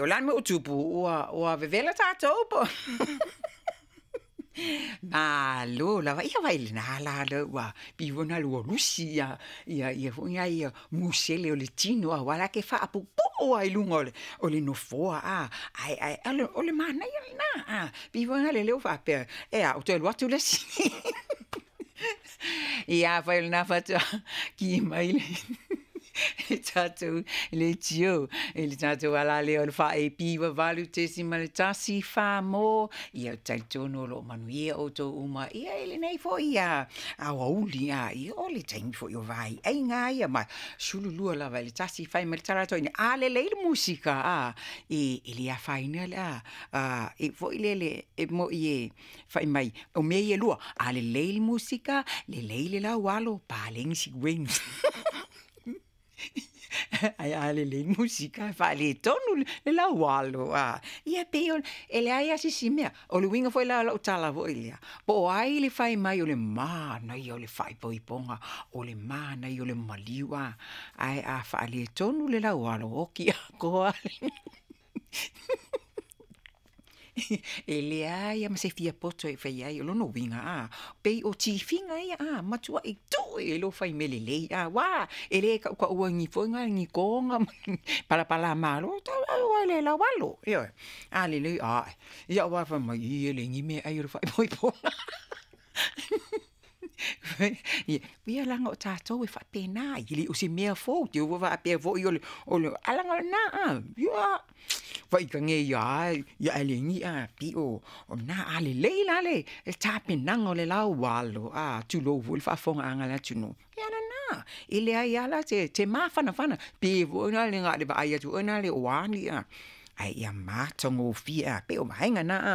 o le a le mea ua tupu, ua vevela tatou po o. Malo lava, ia vaai i lena la lea ua pei foi lena ua lusi ia ia ia foi na ia musele o le tino aua la e te faapuupuu lava i luga o le nofoa a, ae o le manaia lena a, pei foi lea ua faapea, e a ua toe alu atu le isi. Ia afai o lena faatoa ki mai le tatou leitio i le tatou alalea o le 4AP 8.14 mo ia, ou te talitonu o lo o manuia outou uma ia i lenei foi aoauli a ia o le taimi foi o vaiaiga ia ma 12 lava i le 1 fai mai le tala atoa a lelei le musika a e le afaina le a e foi lele e moi e fai mai o mea ia e lua, a lelei le musika, lelei le laualo, paleni si ueni. Ae a lelei le musika, faaletonu le laualo a. Ia pei o e leai lava se isi mea. O le uiga foi la o lau tala foi lea, po o ai le fai mai o le manaia o le faaipoipoga, o le manaia o le maliu a, ae a faaletonu le laualo, oki atoa. E leai lava ma se fia poto e fai ai, o lona uiga a, pei o tifiga ia a, matuai tuu i ai lou fai mea lelei a, uā e le tautaua i ni foi na ni toga ma ni palapalamalo, tau le laualo, ioe. A lelei, ae, ia aua fai mai, ī e leai ni meaai o le faaipoipoga. Ia leaga o tatou e faapena, e le o se mea fou, te i ua faapea foi o le, ae leaga o lena a, ia, faitage ia lava ia Eleni a, pei o lena, a lelei la le tapenaga o le laualo a, tulou foi le faafofogaaga a le atunuu, ia lena, e leai lava la se mafanafana, pe foi la le na o le vaai atu foi lea o a ni a, ae ia matagofie a, pei o vaega na a.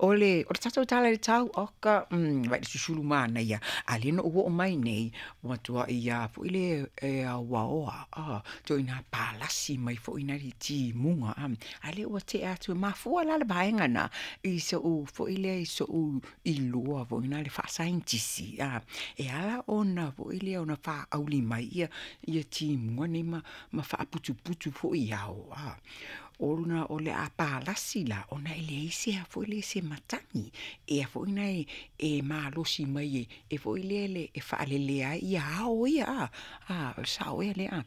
O le tatou tala i le tau, oka, vaai i le susulu manaia, a o lea na ou oo mai nei, ua matuai a foi lea e auaoa a, ituaiga palasi mai foi na le timuga a, a o lea ua tea atu, e mafua la le vaega lena i sou foi lea i sou iloa foi lena le faasaienitisi a, e ala ona foi lea ona faauli mai ia timuga nei ma faaputuputu foi i ao a, ona o le a palasi la, ona e leai se a foi lea se matagi e a foi na e malosi mai e foi lea e faalelea ai ia ao ia a, a o le sao ea lea a.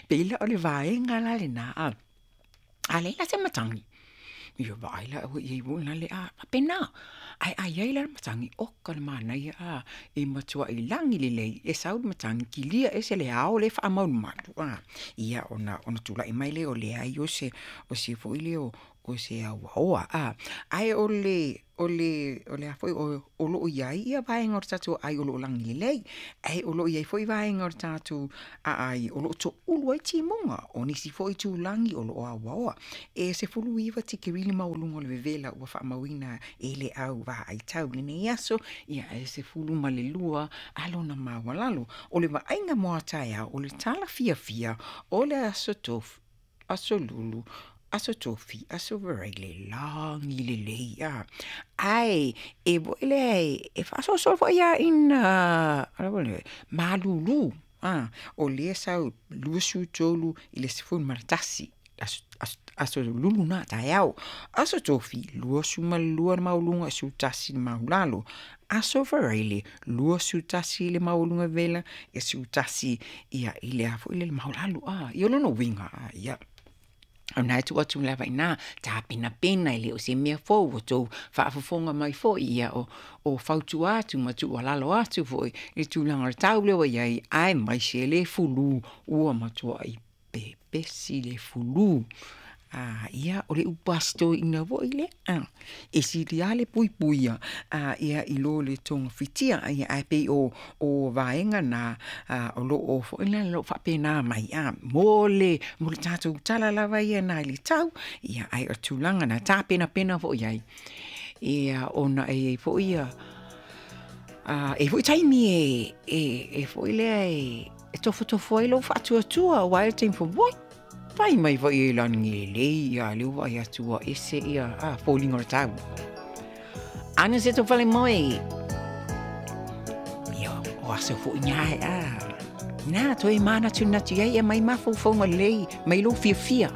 Pei la o le vaega la lena a, a leai la se matagi, ia vaai la ua i ai foi la le a faapena. Ae a i ai la le matagi, oka le manaia a, e matuai lagi lelei, e sau le matagi, kilia ese le ao lea e faamalumalu a, ia ona tulai mai lea o leai o se foi lea o se auaoa a. Ae o le o le o le a foi o lo o i ai ia vaega o le tatou aai o lo o lagi lelei, ae o lo o i ai foi vaega o le tatou aai o lo o toulu ai timuga, o nisi foi itulagi o lo o auaoa. E 19 tikeri le maualuga o le vevela ua faamauina e le au vaai tau i lenei aso, ia e 12 a lona maualalo. O le vaaiga mo a taeao, o le tala fiafia o le aso tofi, aso lulu, aso tofi, aso varaile, lagi lelei a. Ae e foi lea e faasoasoa foi lava ina malulu a, o lea sau 23 i le 11, aso lulu na taeao. Aso tofi, 22 le maualuga, 11 le maulalo. Aso varaile, 21 le maualuga vela, e 11 ia i le a foi le maulalo a. Ia o lona uiga a, ia. O na e tuu atu lava i ina, tapenapena e le o se mea fou, ua tou faafofoga mai foi ia o fautua atu ma tuualalo atu foi i le tulaga o le tau lea ua i ai, aemaise le fulu ua matuai pepesi le fulu. A, ia, o le upu a si toeaina foi lea, a, e sili lava le puipuia a, ia i lo le togafitia, ia, ae pei o vaega na o lo o foi na lo o faapena mai a, mo le tatou tala lava ia na i le tau, ia, ae o le tulaga na tapenapena foi ai, ia, ona e i ai foi ia, e foi taimi e foi lea e tofotofo ai lou faatuatua, aua e le taimi foi, oi, fai mai foi e lagi lelei, ia, lea ua vaai atu ua ese ia foliga o le tau. Ana se tau fale moe, ia, o aso foi ngā e a. Nā, toe manatunatu ai e mai mafaufauga lelei, mai lou fiafia.